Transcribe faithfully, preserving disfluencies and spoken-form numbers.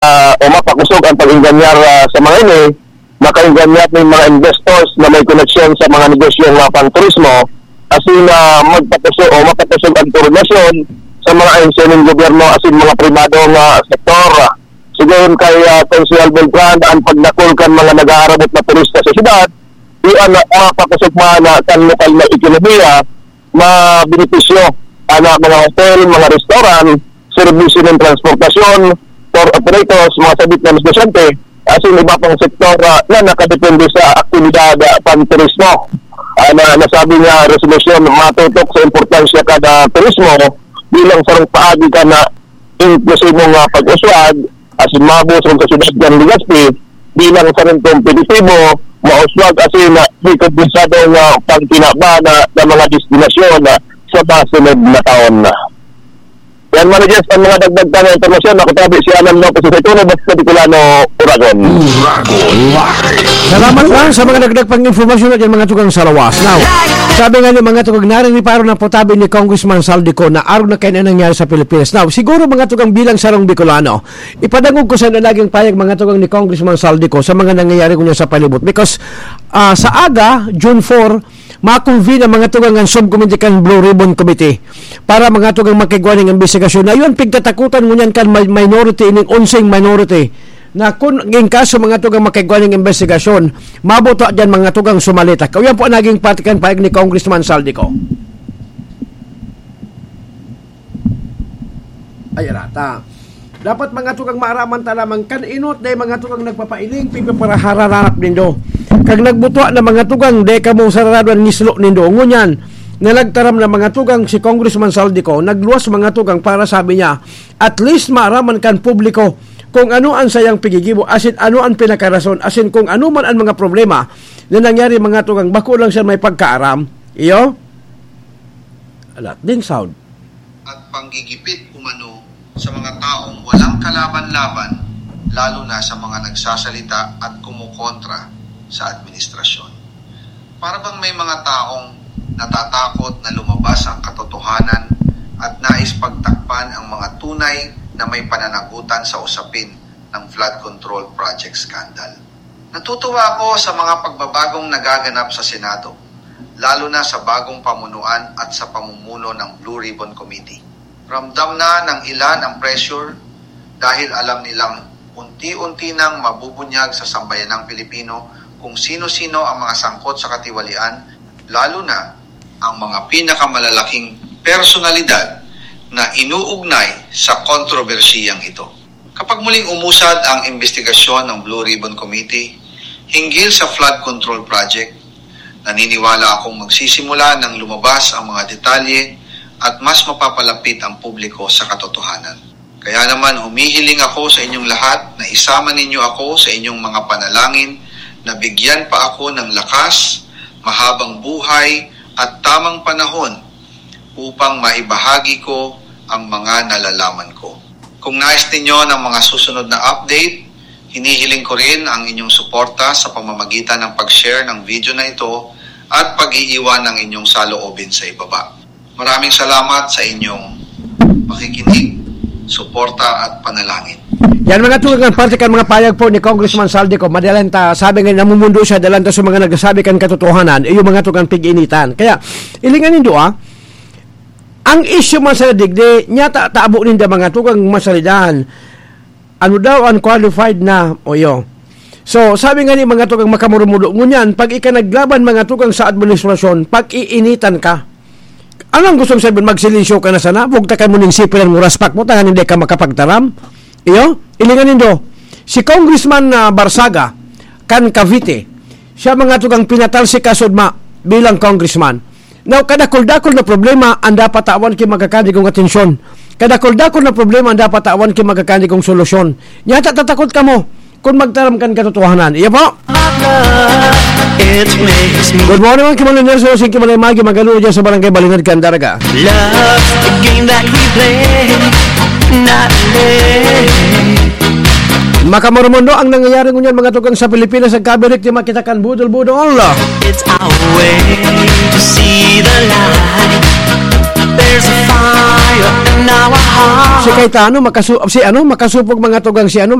ah, o mapakusog ang pag-enganyar, ah, sa mga ini, makaenganyar nin mga investors na may koneksyon sa mga negosyong, ah, pangturismo, asin na magpakusog o mapakusog ang koordinasyon sa mga ahensya nin gobyerno asin mga pribadong, ah, sektor. Sigon kay, ah, Konsehal Beltran, ang pagdakul kan mga nag-aarabot na turista sa syudad, iyan na mapakusog man kan lokal na ekonomiya, mabenepisyo ang mga hotel, mga restaurant, serbisyo nin transportasyon, tour operators, mga sabit na negosyante, asin iba pang sektor, ah, na nakadepende sa aktibidad, ah, panturismo. Ah, na nasabi niya, resolusyon matutok sa importansya kan turismo bilang sarong paagi kan inklusibong, ah, pag-uswag asin mabusog sa syudad kan Legazpi bilang sarong kompetitibo, mauswag asin, ah, rekompensadong, ah, pangkinaban, ah, na mga destinasyon, ah, sa mga sunod na taon. Yan, Manoy Jess, ang mga dagdag pa na impormasyon. Ako tabi si Alan Lopez, sa Ituno, Basta Bicolano, Uragon. Uragon Live. Salamat lang sa mga dagdag pang impormasyon na dyan, mga tugang sa lawas. Now, sabi nga ni mga tugang, naririparo na po tabi ni Congressman Saldico na arog na kayo na nangyari sa Pilipinas. Now, siguro mga tugang bilang sarong Bicolano, ipadangog ko sa naging payag mga tugang ni Congressman Saldico sa mga nangyayari ko niya sa palibot. Because, ah, sa aga, June four, ma-convene ang mga tugang ng subcommittee kan Blue Ribbon Committee para mga tugang makigwa ning imbestigasyon. Na yun, pigtatakutan ngunyan kan may-, minority, ining onseng minority, na kun in kaso mga tugang makigwa ning imbestigasyon, mabuto dyan mga tugang sumalita. Kauyan po ang naging pahayag ni Congressman Saldico. Ay, arata. Dapat mga tugang maaraman ta lamang kan inot dai mga tugang nagpapailing, pipiparahararap nindo. Kag nagbutwa na mga tugang, dai kamo sararado an ngislo nindo. Ngunyan, na nagtaram na mga tugang si Congressman Saldico, nagluwas mga tugang para sabi niya, at least maaraman kan publiko kung ano an sayang pigigibo, asin ano an pinakarason, asin kung ano man an mga problema na nangyari mga tugang, bako lang siya may pagkaaram. Iyo? Alat ding sound. At panggigipit umano sa mga taong walang kalaban-laban, lalo na sa mga nagsasalita at kumokontra sa administrasyon. Para bang may mga taong natatakot na lumabas ang katotohanan at nais pagtakpan ang mga tunay na may pananagutan sa usapin ng flood control project scandal. Natutuwa ako sa mga pagbabagong nagaganap sa Senado, lalo na sa bagong pamunuan at sa pamumuno ng Blue Ribbon Committee. Ramdam na ng ilan ang pressure dahil alam nilang unti-unti nang mabubunyag sa sambayanang Pilipino kung sino-sino ang mga sangkot sa katiwalian, lalo na ang mga pinakamalalaking personalidad na inuugnay sa kontrobersyang ito. Kapag muling umusad ang imbestigasyon ng Blue Ribbon Committee hinggil sa flood control project, naniniwala akong magsisimula ng lumabas ang mga detalye at mas mapapalapit ang publiko sa katotohanan. Kaya naman, humihiling ako sa inyong lahat na isama ninyo ako sa inyong mga panalangin na bigyan pa ako ng lakas, mahabang buhay, at tamang panahon upang maibahagi ko ang mga nalalaman ko. Kung nais ninyo ng mga susunod na update, hinihiling ko rin ang inyong suporta sa pamamagitan ng pag-share ng video na ito at pag-iiwan ng inyong saloobin sa ibaba. Maraming salamat sa inyong pakikinig, suporta at panalangin. Yan mga tugang, parte kan mga payag po ni Congressman Saldico. Madalan ta, sabi nga, namumundo siya, dalan ta sa mga nagsasabi kan katotohanan, iyo mga tugang pig-initan. Kaya, ilingan nindo, ah, ang isyu man sa digdi, niya ta-, tabo ninda mga tugang masalidahan. Ano daw ang qualified na, o iyo. So, sabi nga ni mga tugang makamurumudo, ngunyan, pag ika naglaban mga tugang sa administrasyon, pag-iinitan ka. Anong gusto mong sabihin? Magsilensyo ka na sana? Huwag ta ka mo ning sipilan mo, raspak mo, tangan hindi ka makapagtaram? Iyo? Ilingan nindo, si Congressman, ah, Barzaga, kan Cavite, siya mga tugang pinatalsik ka sudma bilang congressman. Now, kadakul-dakul na problema ang dapat tawan ki magkakandigong atensyon. Kadakul-dakul na problema ang dapat tawan ki magkakandigong solusyon. Nyata tatakot kamo kung magtaram kan katotohanan. Iya po? It makes me Good morning, mga Kimalay Nelson, si Kimalay Magi, magalo dyan sa Barangay Balinad, Candaraga. Love the game that we play, not play. Makamurumundo ang nangyayari ngunyan, mga tugang sa Pilipinas, sa kabirik di makita kan budol-budol. It's our way to see the light. There's a fire in our heart. Si Cayetano, makasu-, si ano, makasupog mga tugang si ano,